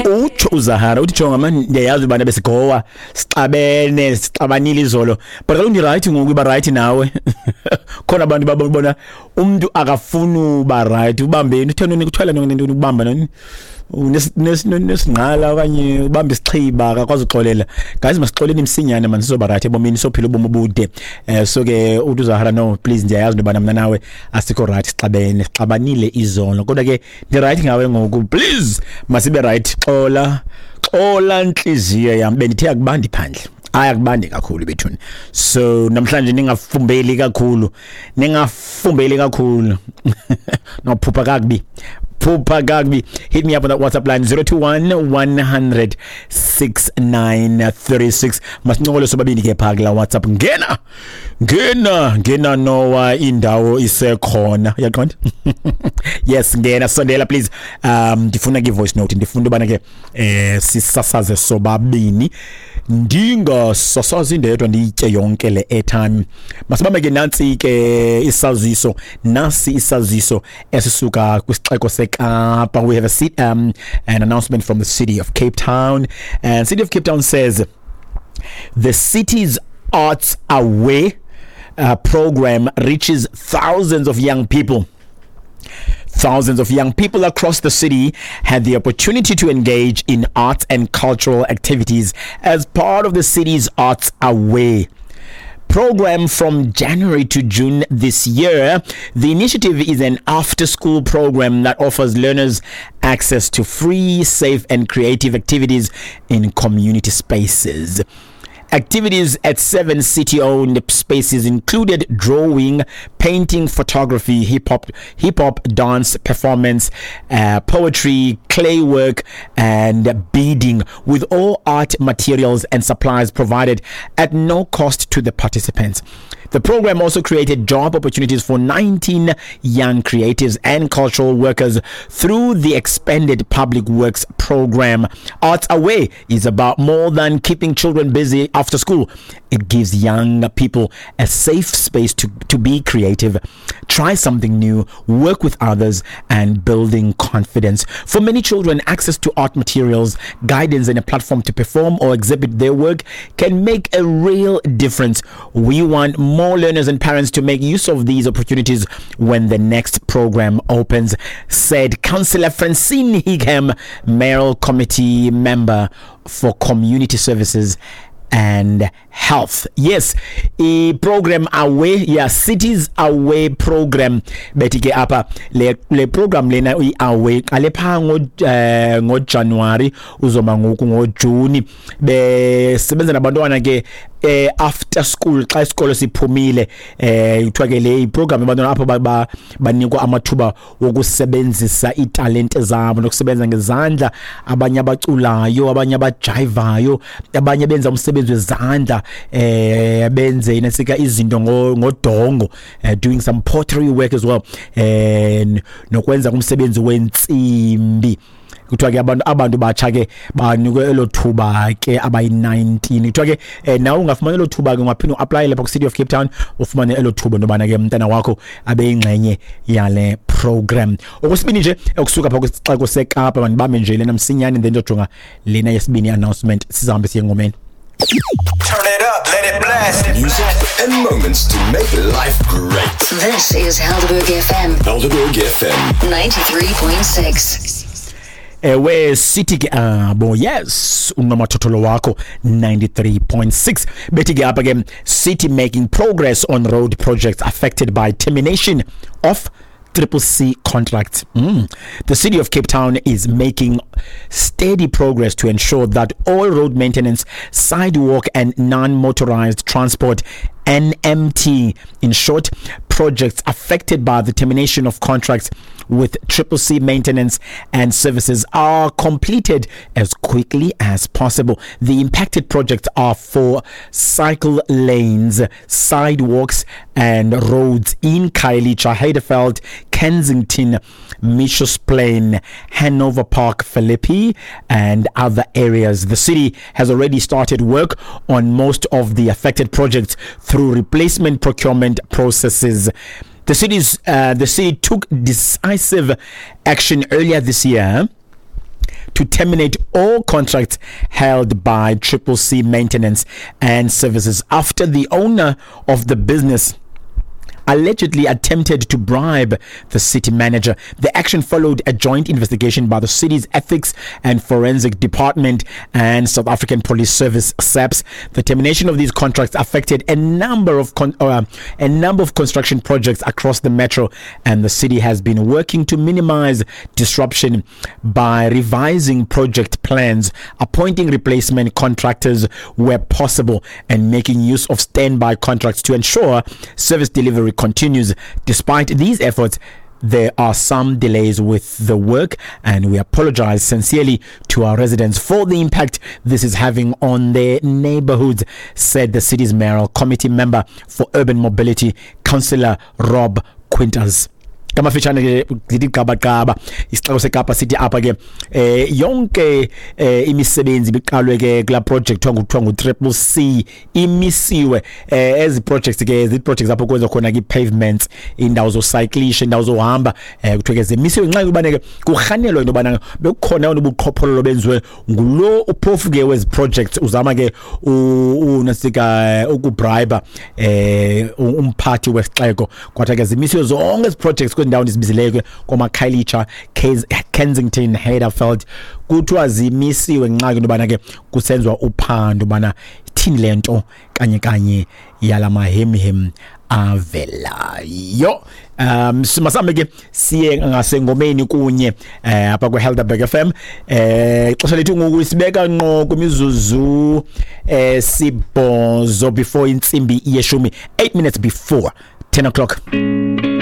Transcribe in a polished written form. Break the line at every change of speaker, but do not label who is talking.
Utsho uZahara uthi, "Jonga man, ndiyayazi ubana besigowa, sixabene, sixabanile izolo, but kaloku ndirayithi ngoku, iba rayithi nawe." Khona abantu babona umntu akafuni uba rayithi, ubambeni utheni, kuthiwa ntoni, ubamba ntoni, nesingqala okanye ubamba isixhiba, akakwazi uxolela. Guys, masixoleni msinyane man, sizoba right ebomini, sophila ubomi obude. So ke uthi uZahara, "No, please, ndiyayazi into yobana mna nawe asikho right, sixabene, sixabanile izolo, kodwa ke ndi-right ngawe ngoku. Please, masibe right. Xola, xola ntliziyo yam." Bendithe akubandi phandle. Hayi, akubandi kakhulu bethuni. So namhlanje ningafumbeli kakhulu, ningafumbeli kakhulu, nophupha kakubi, phupha kakubi. Hit me up on that WhatsApp line, 021 100 6936. Masincokole sobabini ke phaa kula WhatsApp. Ngena, ngena, ngena nowa indawo isekhona, uyaqonda? Yes, ngena, sondela please. Ndifuna ke voice note, ndifuna ubana ke sisasaze sobabini, ndingasasazi ndedwa, ndiyitye yonke le airtime. Masibambe ke. Nantsi ke isaziso, nasi isaziso esisuka kwisixeko seKapa. We have a seat, an announcement from the City of Cape Town, and City of Cape Town says the city's Arts Away program reaches thousands of young people. Thousands of young people across the city had the opportunity to engage in arts and cultural activities as part of the city's Arts Away program from January to June this year. The initiative is an after school program that offers learners access to free, safe, and creative activities in community spaces. Activities at seven city owned spaces included drawing, painting, photography, hip hop, dance, performance, poetry, clay work, and beading, with all art materials and supplies provided at no cost to the participants. The program also created job opportunities for 19 young creatives and cultural workers through the expanded public works program. Arts Away is about more than keeping children busy after school. It gives young people a safe space to be creative, try something new, work with others, and building confidence. For many children, access to art materials, guidance, and a platform to perform or exhibit their work can make a real difference. We want more learners and parents to make use of these opportunities when the next program opens, said Councillor Francine Higham, Mayoral Committee member for Community Services and Health. Yes, i program Away, yeah, Cities Away program. Bethi ke apha le program lena i Away qale pha ngo January, uzoma ngoku ngo June, besebenza nabantwana ke after school, xa isikolo siphumile. Kuthiwa ke le iprogram abantwana apho banikwa amathuba wokusebenzisa italente zabo nokusebenza ngezandla, abanye abaculayo, abanye abajivayo, abanye benza umsebenzi wezandla, benze inasika izinto ngodongo, doing some pottery work as well, nokwenza umsebenzi wentsimbi. Kuthiwa ke abantu batsha ke banikwe elo thuba ke abayi-19. Kuthiwa ke nawe ungafumana elo thuba ke, ungaphinda uapply lapha ku-City of Cape Town, ufumane elo thuba intobana ke umntana wakho abe yingxenye yale program. Okwesibini nje okusuka pha kwisixeko seKapa, mandibambe nje lena msinyane, then ndizojonga lena yesibini announcement, sizahambe siye ngomeni.
Turn it up, let it blast.
Music and moments to make life great.
This is Helderberg FM
Helderberg FM.
93.6.
Ewe, sithi ke abo, yes, unomathotholo wakho 93.6. Bethi ke apha ke, city making progress on road projects affected by termination of Triple C contracts. The City of Cape Town is making steady progress to ensure that all road maintenance, sidewalk, and non motorized transport, NMT in short, projects affected by the termination of contracts with Triple C Maintenance and Services are completed as quickly as possible. The impacted projects are for cycle lanes, sidewalks, and roads in Khayelitsha, Heideveld, Kensington, Mitchells Plain, Hanover Park, Philippi, and other areas. The city has already started work on most of the affected projects through replacement procurement processes. The city took decisive action earlier this year. to terminate all contracts held by Triple C Maintenance and Services after the owner of the business allegedly attempted to bribe the city manager. The action followed a joint investigation by the city's Ethics and Forensic Department and South African Police Service SAPS. The termination of these contracts affected a number of construction projects across the metro, and the city has been working to minimize disruption by revising project plans, appointing replacement contractors where possible, and making use of standby contracts to ensure service delivery continues. Despite these efforts, there are some delays with the work, and we apologize sincerely to our residents for the impact this is having on their neighborhoods, said the city's mayoral committee member for urban mobility, Councillor Rob Quintas. Ngamafitshane ke ndithi gqabagqaba, isixeko seKapa sithi apha ke yonke imisebenzi ibiqalwe ke kulaa project kuthiwa ngu-Triple C imisiwe. Ezi projects ke zii-projects apho kwenziwa khona ke ii-pavements, iindawo zocyclisha, iindawo zohamba. Kuthiwe ke zimisiwe ngenxa yokubana ke kurhanelwa into yobana bekukhona yona ubuqhophololo benziwe ngulo uphofu ke wezi projects, uzama ke unasika ukubribe umphathi wesixeko. Kwathiwa ke zimisiwe zonke ezi projects kwezi ndawo ndizibizileyo ke, komaKhayelitsha, Kensington, Heideveld. Kuthiwa zimisiwe ngenxa into yobana ke kusenziwa uphando ubana ithini le nto kanye kanye yala mahemhem avelayo. Masambe ke siye ngasengomeni kunye apha kwi-Helderberg FM. Ixesha lethu ngoku sibeka ngqo kwimizuzu 8 before intsimbi yeshumi, 8 minutes before 10 o'clock.